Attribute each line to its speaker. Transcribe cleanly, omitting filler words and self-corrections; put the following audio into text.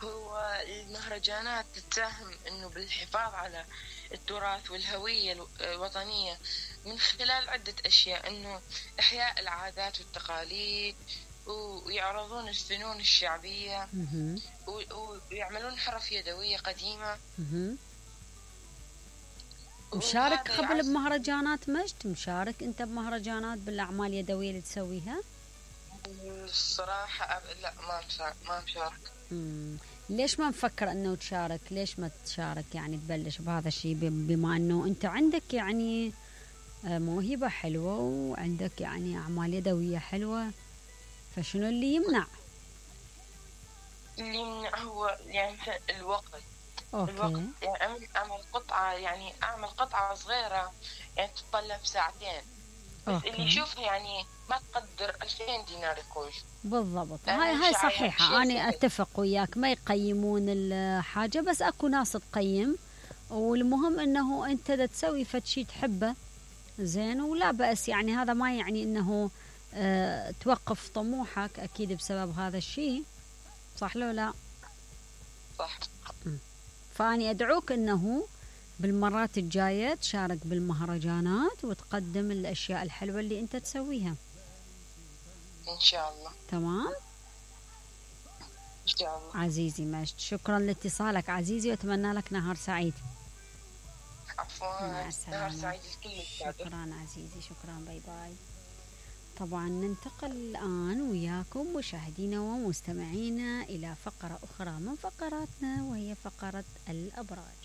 Speaker 1: هو المهرجانات تساهم انه بالحفاظ على التراث والهوية الوطنية من خلال عدة اشياء، انه احياء العادات والتقاليد، ويعرضون الفنون الشعبية،
Speaker 2: مهم.
Speaker 1: ويعملون حرف يدوية قديمة.
Speaker 2: مهم. مشارك
Speaker 1: وهذا
Speaker 2: قبل
Speaker 1: يعزز.
Speaker 2: بمهرجانات مجد؟ مشارك انت بمهرجانات بالاعمال اليدويه اللي تسويها؟
Speaker 1: الصراحة لا، ما مشارك.
Speaker 2: ليش ما مفكر انه تشارك؟ ليش ما تشارك يعني تبلش بهذا الشيء، بما انه انت عندك يعني موهبة حلوة وعندك يعني اعمال يدوية حلوة، فشنو اللي يمنع؟
Speaker 1: اللي يمنع هو يعني الوقت. الوقت
Speaker 2: اوكي.
Speaker 1: يعني أعمل قطعة، يعني أعمل قطعة صغيرة يعني تتطلب ساعتين، بس اللي
Speaker 2: اوكي
Speaker 1: يشوفها يعني ما تقدر 2000 دينار يقول.
Speaker 2: بالضبط،
Speaker 1: لأنه
Speaker 2: هاي
Speaker 1: يعني
Speaker 2: صحيحة،
Speaker 1: شيء
Speaker 2: أنا
Speaker 1: سهل.
Speaker 2: أتفق وياك، ما يقيمون الحاجة بس أكو ناس تقيم، والمهم أنه أنت دا تسوي فد شي تحبه زين ولا بأس، يعني هذا ما يعني أنه توقف طموحك أكيد بسبب هذا الشيء، صح لو لا؟
Speaker 1: صح.
Speaker 2: فأني أدعوك أنه بالمرات الجاية تشارك بالمهرجانات وتقدم الأشياء الحلوة اللي أنت تسويها.
Speaker 1: إن شاء الله.
Speaker 2: تمام
Speaker 1: إن شاء الله.
Speaker 2: عزيزي مجد، شكرا لاتصالك عزيزي، وأتمنى لك نهار سعيد.
Speaker 1: عفوا.
Speaker 2: مع
Speaker 1: نهار
Speaker 2: السلامة.
Speaker 1: سعيد لكل
Speaker 2: شكرا عزيزي، شكرا، باي باي. طبعا ننتقل الآن وياكم مشاهدينا ومستمعينا إلى فقرة أخرى من فقراتنا، وهي فقرة الأبراج.